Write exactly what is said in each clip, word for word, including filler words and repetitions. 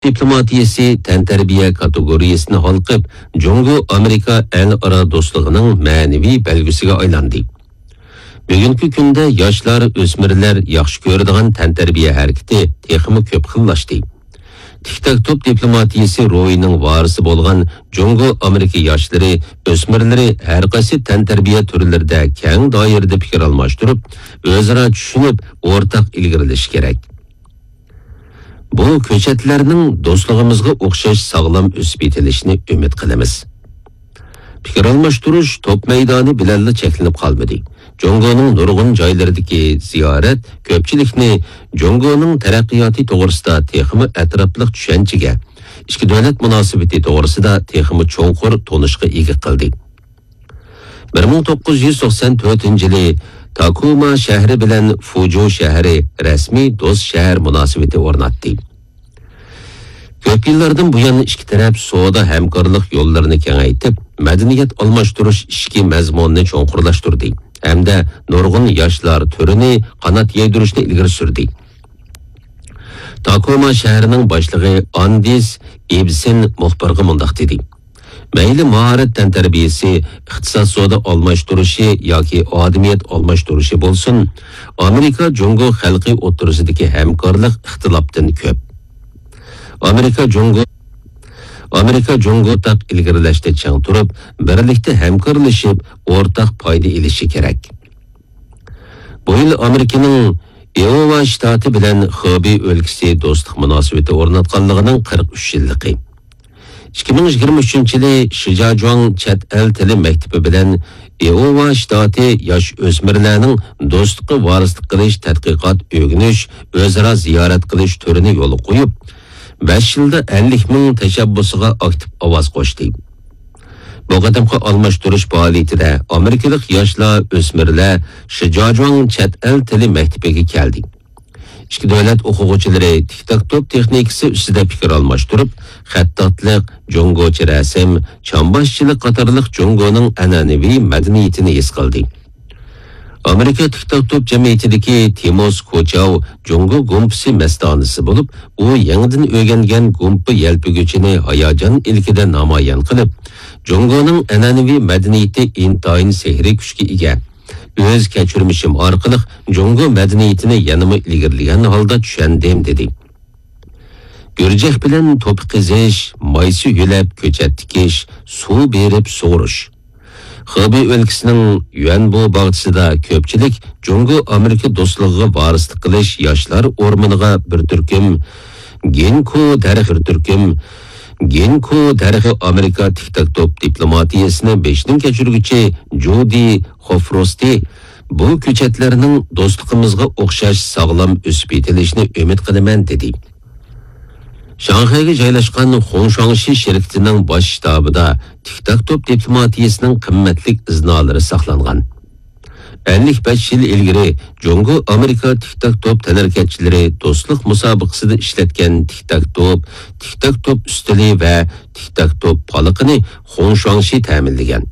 دىپلوماتىيەسى تەنتەربىيە كاتېگورىيەسىنى ھالقىپ، جۇڭگو ئامېرىكا ئەلئارا دوستلۇقىنىڭ مەنىۋى بەلگىسىگە ئايلاندى. بۈگۈنكى كۈندە ياشلار، ئۆسمۈرلەر ياخشى كۆرىدىغان تەنتەربىيە ھەرىكىتى تېخىمۇ كۆپ خىللاشتى. تىك تاك توپ دىپلوماتىيەسى روھىنىڭ ۋارىسى بولغان جۇڭگو ئامېرىكا ياشلىرى، ئۆسمۈرلىرى ھەر قايسى تەنتەربىيە تۈرلىرىدە كەڭ دائىرىدە پىكىر ئالماشتۇرۇپ، ئۆزئارا چۈشىنىپ، ئورتاق ئىلگىرىلىشى كېرەك. بۇ كۆچەتلەرنىڭ دوستلۇقىمىزغا ئوخشاش ساغلام ئۆسۈپ يېتىلىشىنى ئۈمىد قىلىمىز. پىكىر ئالماشتۇرۇش توپ مەيدانى بىلەنلا چەكلىنىپ قالمىدى. جۇڭگونىڭ نۇرغۇن جايلىرىدىكى زىيارەت كۆپچىلىكنى جۇڭگونىڭ تەرەققىياتى توغرىسىدا تېخىمۇ ئەتراپلىق چۈشەنچىگە، ئىككى دۆلەت مۇناسىۋىتى توغرىسىدا تېخىمۇ چوڭقۇر تونۇشقا ئىگە قىلدى. بىر مىڭ توققۇز يۈز توقسان تۆتىنچى يىلى تاكوما شەھىرى بىلەن فۇجۇ شەھىرى رەسمىي دوست شەھەر مۇناسىۋىتى ئورناتتى. كۆپ يىللاردىن بۇيان ئىككى تەرەپ سودا ھەمكارلىق يوللىرىنى كېڭەيتىپ، مەدەنىيەت ئالماشتۇرۇش ئىچكى مەزمۇنىنى چوڭقۇرلاشتۇردى ھەمدە نۇرغۇن ياشلار تۈرىنى قانات يايدۇرۇشنى ئىلگىرى سۈردى. تاكوما شەھىرىنىڭ باشلىقى ئاندىس ئىبسېن مۇخبىرغا مۇنداق دېدى: مەيلى ماھارەت تەنتەربىيەسى، ئىقتىساد سودا ئالماشتۇرۇشى ياكى ئادىمىيەت ئالماشتۇرۇشى بولسۇن، ئامېرىكا جۇڭگو خەلقى ئوتتۇرىسىدىكى ھەمكارلىق ئىختىلاپتىن كۆپ. ئامېرىكا جۇڭگو، ئامېرىكا جۇڭگو ئورتاق ئىلگىرىلەشتە چىڭ تۇرۇپ، بىرلىكتە ھەمكارلىشىپ، ئورتاق پايدا ئېلىشى كېرەك. بۇ يىل ئامېرىكىنىڭ ئىئوۋا شتاتى بىلەن خېبېي ئۆلكىسى دوستلۇق مۇناسىۋىتى ئورناتقانلىقىنىڭ قىرىق ئۈچ يىللىقى. ئىككى مىڭ يىگىرمە ئۈچىنچى يىلى شىجاجۇاڭ چەت ئەل تىلى مەكتىپى بىلەن ئىئوۋا شتاتى ياش ئۆسمۈرلەرنىڭ دوستلۇققا ۋارىسلىق قىلىش تەتقىقات ئۆگىنىش، ئۆزئارا زىيارەت قىلىش تۈرىنى يولغا قويۇپ، بەش يىلدا ئەللىك مىڭ تەشەببۇسىغا ئاكتىپ ئاۋاز قوشتى. بۇ قېتىمقى ئالماشتۇرۇش پائالىيىتىدە ئامېرىكىلىق ياشلار، ئۆسمۈرلەر شىجاجۇاڭ چەت ئەل تىلى مەكتىپىگە كەلدى. ئىككى دۆلەت ئوقۇغۇچىلىرى تىك تاك توپ تېخنىكىسى ئۈستىدە پىكىر ئالماشتۇرۇپ، خەتتاتلىق، جۇڭگوچە رەسىم، چامباشچىلىق قاتارلىق جۇڭگونىڭ ئەنئەنىۋى مەدەنىيىتىنى ھېس قىلدى. ئامېرىكا تىك تاك توپ جەمئىيىتىدىكى تىموس كوچاۋ جۇڭگو گۇمپىسى مەستانىسى بولۇپ، ئۇ يېڭىدىن ئۆگەنگەن گۇمپا يەلپۈگۈچىنى ھاياجان ئىلكىدە نامايان قىلىپ، جۇڭگونىڭ ئەنئەنىۋى مەدەنىيىتى ئىنتايىن سېھرىي كۈچكە ئىگە. ئۆز كەچۈرمىشىم ئارقىلىق جۇڭگو مەدەنىيىتىنى يەنىمۇ ئىلگىرىلىگەن ھالدا چۈشەندىم، دېدى. گۈرجەك بىلەن توپا قېزىش، مايسا يۆلەپ كۆچەت تىكىش، سۇ بېرىپ سۇغۇرۇش. خېبېي ئۆلكىسىنىڭ يۈەنبو باغچىسىدا كۆپچىلىك جۇڭگو ئامېرىكا دوستلۇقىغا ۋارىسلىق قىلىش ياشلار ئورمىنىغا بىر تۈركۈم گىنكو دەرىخى، بىر تۈركۈم گىنكو دەرىخى ئامېرىكا تىك تاك توپ دىپلوماتىيەسىنى بېشىدىن كەچۈرگۈچى جۇدى خوفروستى بۇ كۆچەتلەرنىڭ دوستلۇقىمىزغا ئوخشاش ساغلام ئۆسۈپ يېتىلىشىنى ئۈمىد قىلىمەن، دېدى. شاڭخەيگە جايلاشقان خۇڭشۇاڭشى شىركىتىنىڭ باش شتابىدا تىك تاك توپ دىپلوماتىيەسىنىڭ قىممەتلىك ئىزنالىرى ساقلانغان. ئەللىك بەش يىل ئىلگىرى جۇڭگو ئامېرىكا تىك تاك توپ تەنھەرىكەتچىلىرى دوستلۇق مۇسابىقىسىدە ئىشلەتكەن تىك تاك توپ، تىك تاك توپ ئۈستىلى ۋە تىك تاك توپ پالىقىنى خۇڭشۇاڭشى تەمىنلىگەن.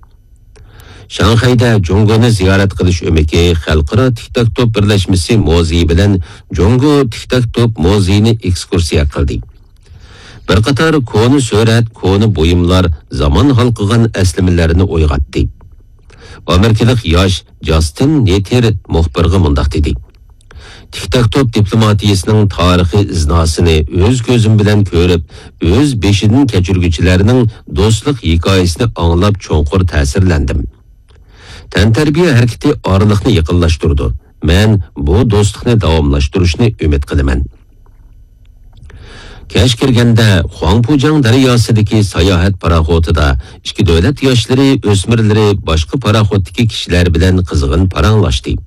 شاڭخەيدە جۇڭگونى زىيارەت قىلىش ئۆمىكى خەلقئارا تىك تاك توپ بىرلەشمىسى مۇزېيى بىلەن جۇڭگو تىك تاك توپ مۇزېيىنى ئېكسكۇرسىيە قىلدى. بىر قاتار كونا سۈرەت، كونا بۇيۇملار زامان ھالقىغان ئەسلىمىلەرنى ئويغاتتى. ئامېرىكىلىق ياش جاستىن نېتېر مۇخبىرغا مۇنداق دېدى: تىك تاك توپ دىپلوماتىيىسىنىڭ تارىخىي ئىزناسىنى ئۆز كۆزۈم بىلەن كۆرۈپ، ئۆز بېشىدىن كەچۈرگۈچىلەرنىڭ دوستلۇق ھېكايىسىنى ئاڭلاپ چوڭقۇر تەسىرلەندىم. تەنتەربىيە ھەرىكىتى ئارىلىقنى يېقىنلاشتۇرىدۇ. مەن بۇ دوستلۇقنى داۋاملاشتۇرۇشنى ئۈمىد قىلىمەن. كەچ كىرگەندە خۇاڭپۇجياڭ دەرياسىدىكى ساياھەت پاراخوتىدا ئىككى دۆلەت ياشلىرى، ئۆسمۈرلىرى باشقا پاراخوتتىكى كىشىلەر بىلەن قىزغىن پاراڭلاشتى.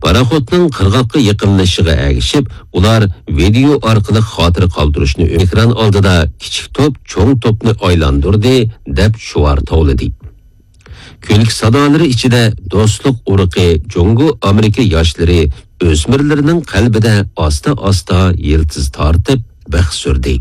پاراخوتنىڭ قىرغاققا يېقىنلىشىشىغا ئەگىشىپ، ئۇلار ۋىدېئو ئارقىلىق خاتىرە قالدۇرۇشنى ئېكران ئالدىدا كىچىك توپ چوڭ توپنى ئايلاندۇردى، دەپ شوئار توۋلىدى. كۈلكە سادالىرى ئىچىدە دوستلۇق ئۇرۇقى جۇڭگو ئامېرىكا ياشلىرى، ئۆسمۈرلىرىنىڭ قەلبىدە ئاستا-ئاستا يىلتىز تارتىپ بىخ سۈردى.